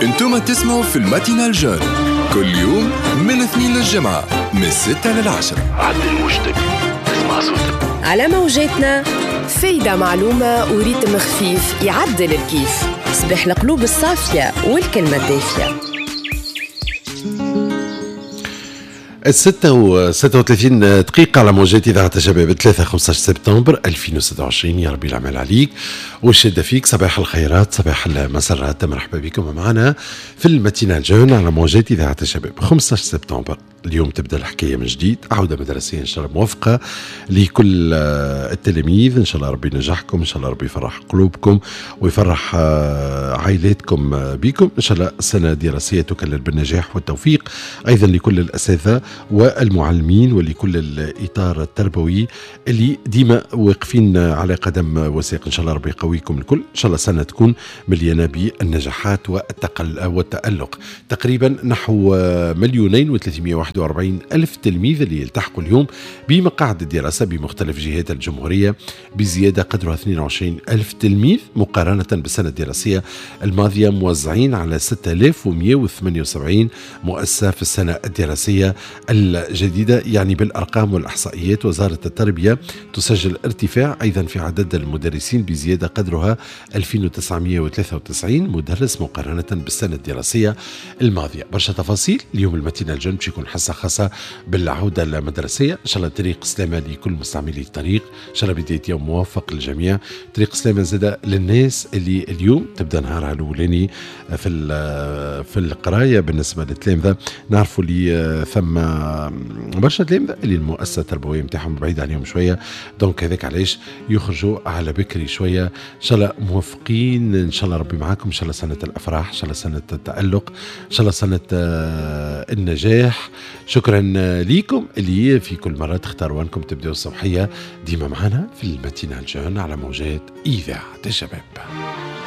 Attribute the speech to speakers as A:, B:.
A: انتم تسمعوا في ال matinale jeune كل يوم من الاثنين للجمعة من 6 لل10.
B: عدل وجدك تسمع صوتك
C: على موجاتنا. فايدة معلومة و rythme خفيف يعدل الكيف. صباح القلوب الصافية والكلمة الدافية.
D: 6:36 على موجات إذاعة الشباب 3 15 سبتمبر 2026. يا ربي العمل عليك والشدة فيك. صباح الخيرات، صباح المسرات، مرحبا بكم معنا في ال matinale jeune على موجات إذاعة الشباب. 15 سبتمبر اليوم تبدا الحكاية من جديد، عوده مدرسيه ان شاء الله موفقة لكل التلاميذ، ان شاء الله ربي ينجحكم، ان شاء الله ربي يفرح قلوبكم ويفرح عائلاتكم بكم، ان شاء الله سنة دراسية تكلل بالنجاح والتوفيق ايضا لكل الاساتذة والمعلمين ولكل الاطار التربوي اللي ديما واقفين على قدم وساق. ان شاء الله ربي يقويكم الكل، ان شاء الله سنة تكون مليانة بالنجاحات والتألق. تقريبا نحو 2,341,000 تلميذ اللي يلتحقوا اليوم بمقاعد الدراسة بمختلف جهات الجمهورية، بزيادة قدرها 22,000 تلميذ مقارنة بالسنة الدراسية الماضية، موزعين على 6178 مؤسسة في السنة الدراسية الجديدة. يعني بالأرقام والإحصائيات وزارة التربية تسجل ارتفاع أيضا في عدد المدرسين بزيادة قدرها 2993 مدرس مقارنة بالسنة الدراسية الماضية. برشا تفاصيل اليوم ال matinale jeune باش يكون حصة خاصة بالعودة المدرسية. إن شاء الله طريق سلامة لكل مستعملي الطريق، إن شاء الله بداية يوم موفق للجميع. طريق سلامة زادة للناس اللي اليوم تبدأ نهارها الأولاني في القراية. بالنسبة للتلامذة نعرفوا اللي ثم برشا تلامذة اللي المؤسسة التربوية نتاعهم بعيدة عليهم شوية، donc هذاك علاش يخرجوا على بكري شوية. إن شاء الله موفقين، إن شاء الله ربي معاكم، إن شاء الله سنة الأفراح، إن شاء الله سنة التألق، إن شاء الله سنة النجاح. شكرا ليكم اللي في كل مرة تختاروا أنكم تبدأوا الصبحية ديما معنا في ال matinale jeune على موجات إذاعة الشباب.